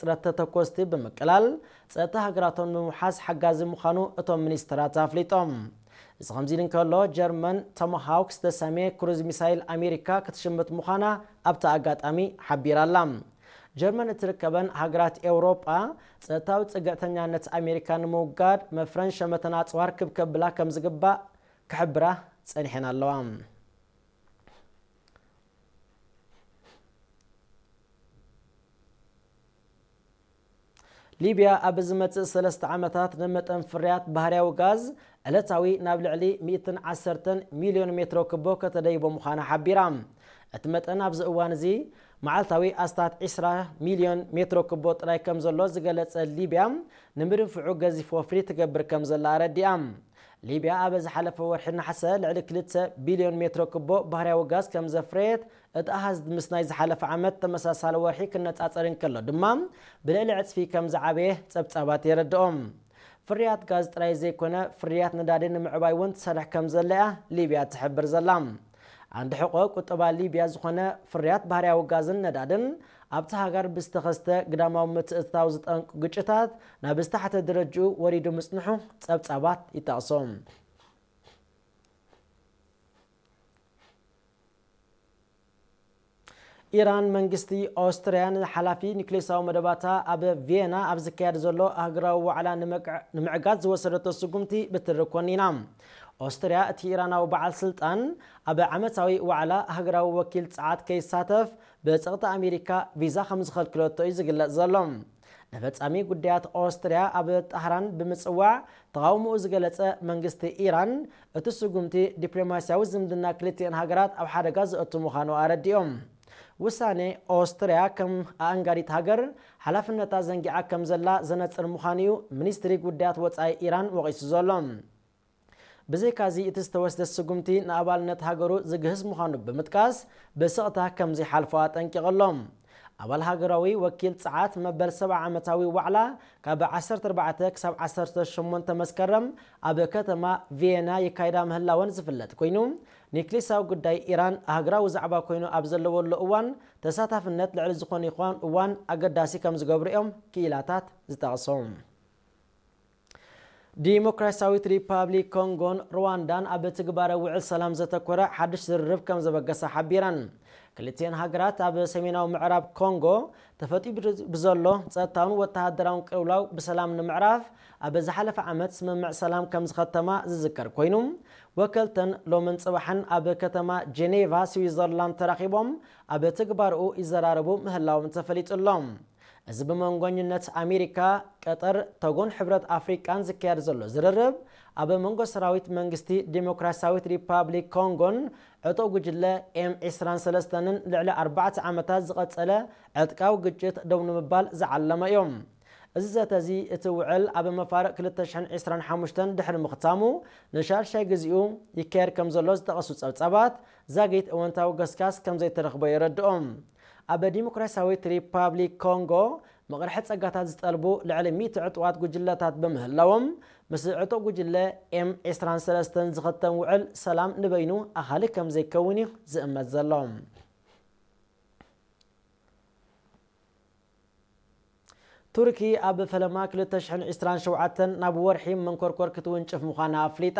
ጥረት ተተኮስቲ ብምቅላል ጸጥታ ሃገራቶም ንምውሓስ ሓጋዚ ምዃኑ እቶም ሚኒስትራት ኣፍሊጦም። እዚ ከምዚ ኢሉ እንከሎ፣ ጀርመን ቶማሃውክ ዝተሰምየ ክሩዝ ሚሳይል ኣሜሪካ ክትሽምት ምዃና ኣብቲ ኣጋጣሚ ሓቢራ ኣላ። ጀርመን እትርከበን ሃገራት ኤውሮጳ ጸጥታዊ ጽግዕተኛነት ኣሜሪካ ንምውጋድ መፍረን ሸመተን ኣጽዋር ክብ ከብላ ከም ዝግባእ ክሕብራ ጸኒሐን ኣለዋ። ሊብያ ኣብ ዝመጽእ ሰለስተ ዓመታት ንመጠን ፍርያት ባህርያዊ ጋዝ ዕለታዊ ናብ ልዕሊ ሚእትን ዓሰርተን ሚልዮን ሜትሮ ክቦ ከተደይቦ ምዃና ሓቢራ። እቲ መጠን ኣብዚ እዋን እዚ መዓልታዊ ኣስታት ዕስራ ሚልዮን ሜትሮ ክቦ ጥራይ ከም ዘሎ ዝገለጸ ሊብያ፣ ንምድንፍዑ ገዚፍ ወፍሪ ትገብር ከም ዘላ ኣረዲኣ። ሊብያ ኣብ ዝሓለፈ ወርሒ ነሓሰ ልዕሊ ክልተ ቢልዮን ሜትሮ ክቦ ባህርያዊ ጋዝ ከም ዘፍረየት እቲ ኣሃዝ ምስ ናይ ዝሓለፈ ዓመት ተመሳሳሊ ወርሒ ክነጻጸር እንከሎ ድማ፣ ብልዕሊ ዕጽፊ ከም ዝዓበየ ጸብጻባት የረድኦም። ፍርያት ጋዝ ጥራይ ዘይኮነ፣ ፍርያት ነዳዲ ንምዕባይ እውን ትሰርሕ ከም ዘላ እያ ሊብያ ትሕብር ዘላ። ኣንዲ ሕቆ ቁጠባ ሊብያ ዝኾነ ፍርያት ባህርያዊ ጋዝን ነዳድን ኣብቲ ሃገር ብዝተኸስተ ግዳማዊ ምትእትታው ዝጠንቁ ግጭታት ናብ ዝተሓተ ደረጅኡ ወሪዱ ምጽንሑ ጸብጻባት ይጠቕሱ። ኢራን መንግስቲ ኦስትርያ ንሓላፊ ኒክሌሳዊ መደባታ ኣብ ቪየና ኣብ ዝካየድ ዘሎ ኣህግራዊ ዋዕላ ንምዕጋት ዝወሰደቶ ስጉምቲ ብትሪ ኮኒና። ኦስትርያ እቲ ኢራናዊ በዓል ስልጣን ኣብ ዓመታዊ ዋዕላ ኣህግራዊ ወኪል ጸዓት ከይሳተፍ ብጸቕጢ ኣሜሪካ ቪዛ ከም ዝኸልክለቶ እዩ ዝግለጽ ዘሎ። ንፈጻሚ ጉዳያት ኦስትርያ ኣብ ጣህራን ብምጽዋዕ ተቓውሞኡ ዝገለጸ መንግስቲ ኢራን፣ እቲ ስጉምቲ ዲፕሎማስያዊ ዝምድና ክልቲኤን ሃገራት ኣብ ሓደጋ ዘእቱ ምዃኑ ኣረዲኦም። ውሳኔ ኦስትርያ ከም ኣኣንጋዲት ሃገር ሓላፍነታ ዘንጊዓ ከም ዘላ ዘነጽር ምዃኑ እዩ ሚኒስትሪ ጉዳያት ወጻኢ ኢራን ወቒሱ ዘሎ። ብዘይካዚ እቲ ዝተወስደ ስጉምቲ ንኣባልነት ሃገሩ ዝግህስ ምዃኑ ብምጥቃስ፣ ብስቕታ ከም ዘይሓልፎ ኣጠንቂቑ ኣሎ። ኣባል ሃገራዊ ወኪል ጸዓት መበል ሰብዓ ዓመታዊ ዋዕላ ካብ ዓሰርተ ኣርባዕተ ክሳብ ዓሰርተ ሸሞንተ መስከረም ኣብ ከተማ ቪየና ይካይዳ ምህላወን ዝፍለጥ ኮይኑ፣ ኒክሌሳዊ ጉዳይ ኢራን ሃገራዊ ዛዕባ ኮይኑ ኣብ ዘለወሉ እዋን ተሳታፍነት ልዕሊ ዝኾነ ይኹን እዋን ኣገዳሲ ከም ዝገብሩ እዮም ክኢላታት ዝጠቕሱ። ዲሞክራሲያዊት ሪፓብሊክ ኮንጎን ሩዋንዳን ኣብ ትግባረ ውዕል ሰላም ዘተኮረ ሓድሽ ዝርርብ ከም ዘበገሳ ሓቢረን። ክልቲኤን ሃገራት ኣብ ሰሜናዊ ምዕራብ ኮንጎ ተፈጢሩ ብዘሎ ጸጥታውን ወተሃደራውን ቅልውላው ብሰላም ንምዕራፍ ኣብ ዝሓለፈ ዓመት ስምምዕ ሰላም ከም ዝኸተማ ዝዝከር ኮይኑ፣ ወከልተን ሎምን ጽባሕን ኣብ ከተማ ጄኔቫ ስዊዘርላንድ ተራኺቦም ኣብ ትግባርኡ ይዘራረቡ ምህላዎም ተፈሊጡ ኣሎ። እዚ ብመንጎኝነት ኣሜሪካ፣ ቀጠር፣ ቶጎን ሕብረት ኣፍሪቃን ዝካየድ ዘሎ ዝርርብ፣ ኣብ መንጎ ሰራዊት መንግስቲ ዲሞክራሲያዊት ሪፓብሊክ ኮንጎን ዕጡቕ ጉጅለ ኤም ዕስራን ሰለስተን ልዕሊ ኣርባዕተ ዓመታት ዝቐጸለ ዕጥቃዊ ግጭት ደው ንምባል ዝዓለመ እዩ። እዚ ዘተ እዚ እቲ ውዕል ኣብ መፋርቕ ክልተ ሽሕን ዕስራን ሓሙሽተን ድሕሪ ምኽታሙ ንሻድሻይ ግዜኡ ይካየድ ከም ዘሎ ዝጠቐሱ ጸብጻባት፣ ዛጊት እወንታዊ ገስጋስ ከም ዘይተረኽቦ የረድኦም። ኣብ ዲሞክራሲያዊት ሪፓብሊክ ኮንጎ መቕርሒ ጸጋታት ዝጠልቡ ልዕሊ ሚእቲ ዕጡቓት ጉጅለታት ብምህላዎም፣ ምስ ዕጡቕ ጉጅለ ኤም ዕስራን ሰለስተን ዝኸተም ውዕል ሰላም ንበይኑ ኣኻሊ ከም ዘይከውን እዩ ዝእመት ዘሎ። ቱርኪ ኣብ ፈለማ ክልተ ሽሕን ዕስራን ሸውዓተን ናብ ወርሒ መንኮርኮር ክትውንጭፍ ምዃና ኣፍሊጣ።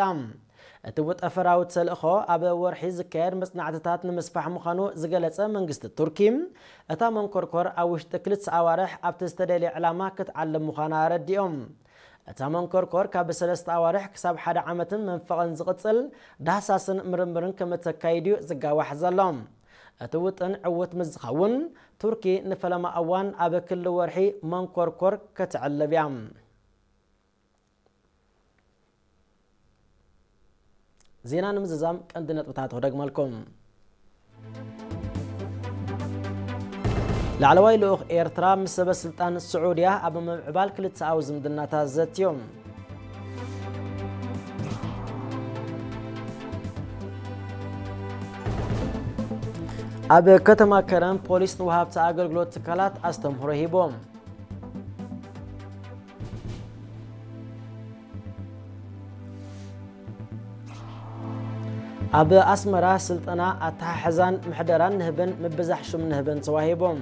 እቲ ጠፈራዊ ተልእኾ ኣብ ወርሒ ዝካየድ መጽናዕትታት ንምስፋሕ ምዃኑ ዝገለጸ መንግስቲ ቱርኪ፣ እታ መንኮርኮር ኣብ ውሽጢ ክልተ ኣዋርሕ ኣብቲ ዝተደልየ ዕላማ ክትዓልም ምዃና ኣረዲኦም። እታ መንኮርኮር ካብ ሰለስተ ኣዋርሕ ክሳብ ሓደ ዓመትን መንፈቕን ዝቕጽል ዳህሳስን ምርምርን ከም እተካይድ እዩ ዝጋዋሕ ዘሎ። እቲ ውጥን ዕዉት ምስ ዝኸውን፣ ቱርኪ ንፈለማ እዋን ኣብ ክሊ ወርሒ መንኮርኮር ከተዕልብ እያ። ዜና ንምዝዛም ቀንዲ ነጥብታት ክደግመልኩም። ላዕለዋይ ልኡኽ ኤርትራ ምስ ሰበ ስልጣን ስዑድያ ኣብ ምምዕባል ክልተኣዊ ዝምድናታት ዘትዮም። ኣብ ከተማ ከረን ፖሊስ ንወሃብቲ ኣገልግሎት ትካላት ኣስተምህሮ ሂቦም። ኣብ ኣስመራ ስልጠና ኣተሓሕዛን ምሕደራን ንህብን ምብዛሕ ሹም ንህብን ተዋሂቦም።